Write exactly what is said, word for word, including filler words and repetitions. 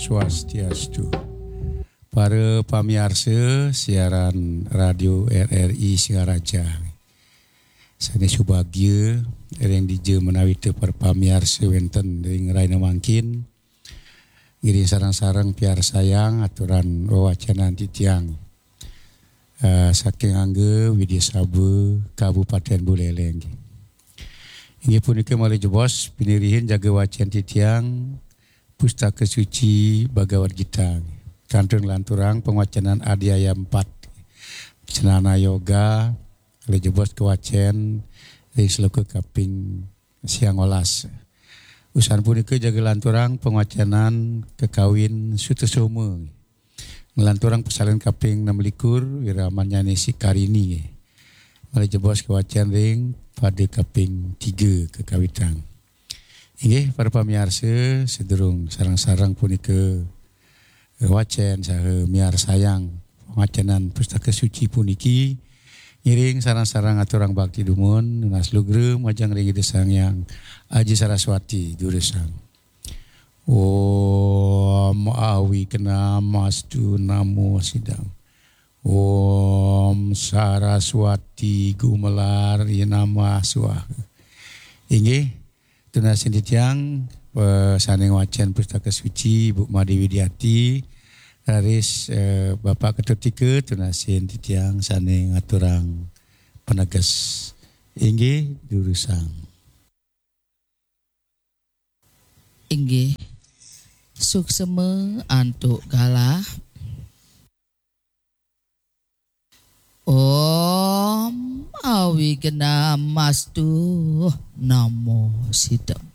Swastiastu. Para pamiarsa siaran Radio R R I Singaraja. Sané subagia ring dija menawi té para pamiarsa wénten ring rahina mangkin. Ngiring sareng-sareng piarsayang aturan wewacenan titiang. Eh, saking Angga Widya Saba, Kabupaten Buleleng. Inggih punika malih jebos pinirihin jaga wacén titiang Pustaka Suci Bhagavad Gita. Kantun nglanturang pangwacenan adhyaya empat. Cendana Yoga, malih jebos kawacén ring sloka kaping siang welas. Usan punika jaga lanturang pangwacenan kakawin Sutasoma. Nglanturang pasalin kaping enam likur, Wiramanyane Sikarini. Malih jebos kawacén ring pada kaping tiga kakawitang. Inggih, para pamiarsa, sadurung sareng-sareng punika wacén saha miarsayang pangwacenan Pustaka Suci puniki, ngiring sareng-sareng aturang bakti dumun, nunas lugra majeng ring Ida Sang Hyang Aji Saraswati durusang. Om Awignamastu Namo Siddham. Om Saraswati Gumelar Yenamah Swaha. Inggih, tunasin titiang, eh, sané ngwacén Pustaka Suci, Bu Made Widiati, raris, eh, Bapak Ketut Tika, tunasin titiang sané ngaturang paneges. Inggih, durusang. Inggih, suksma antuk galah. Om Awignamastu Namo Siddham.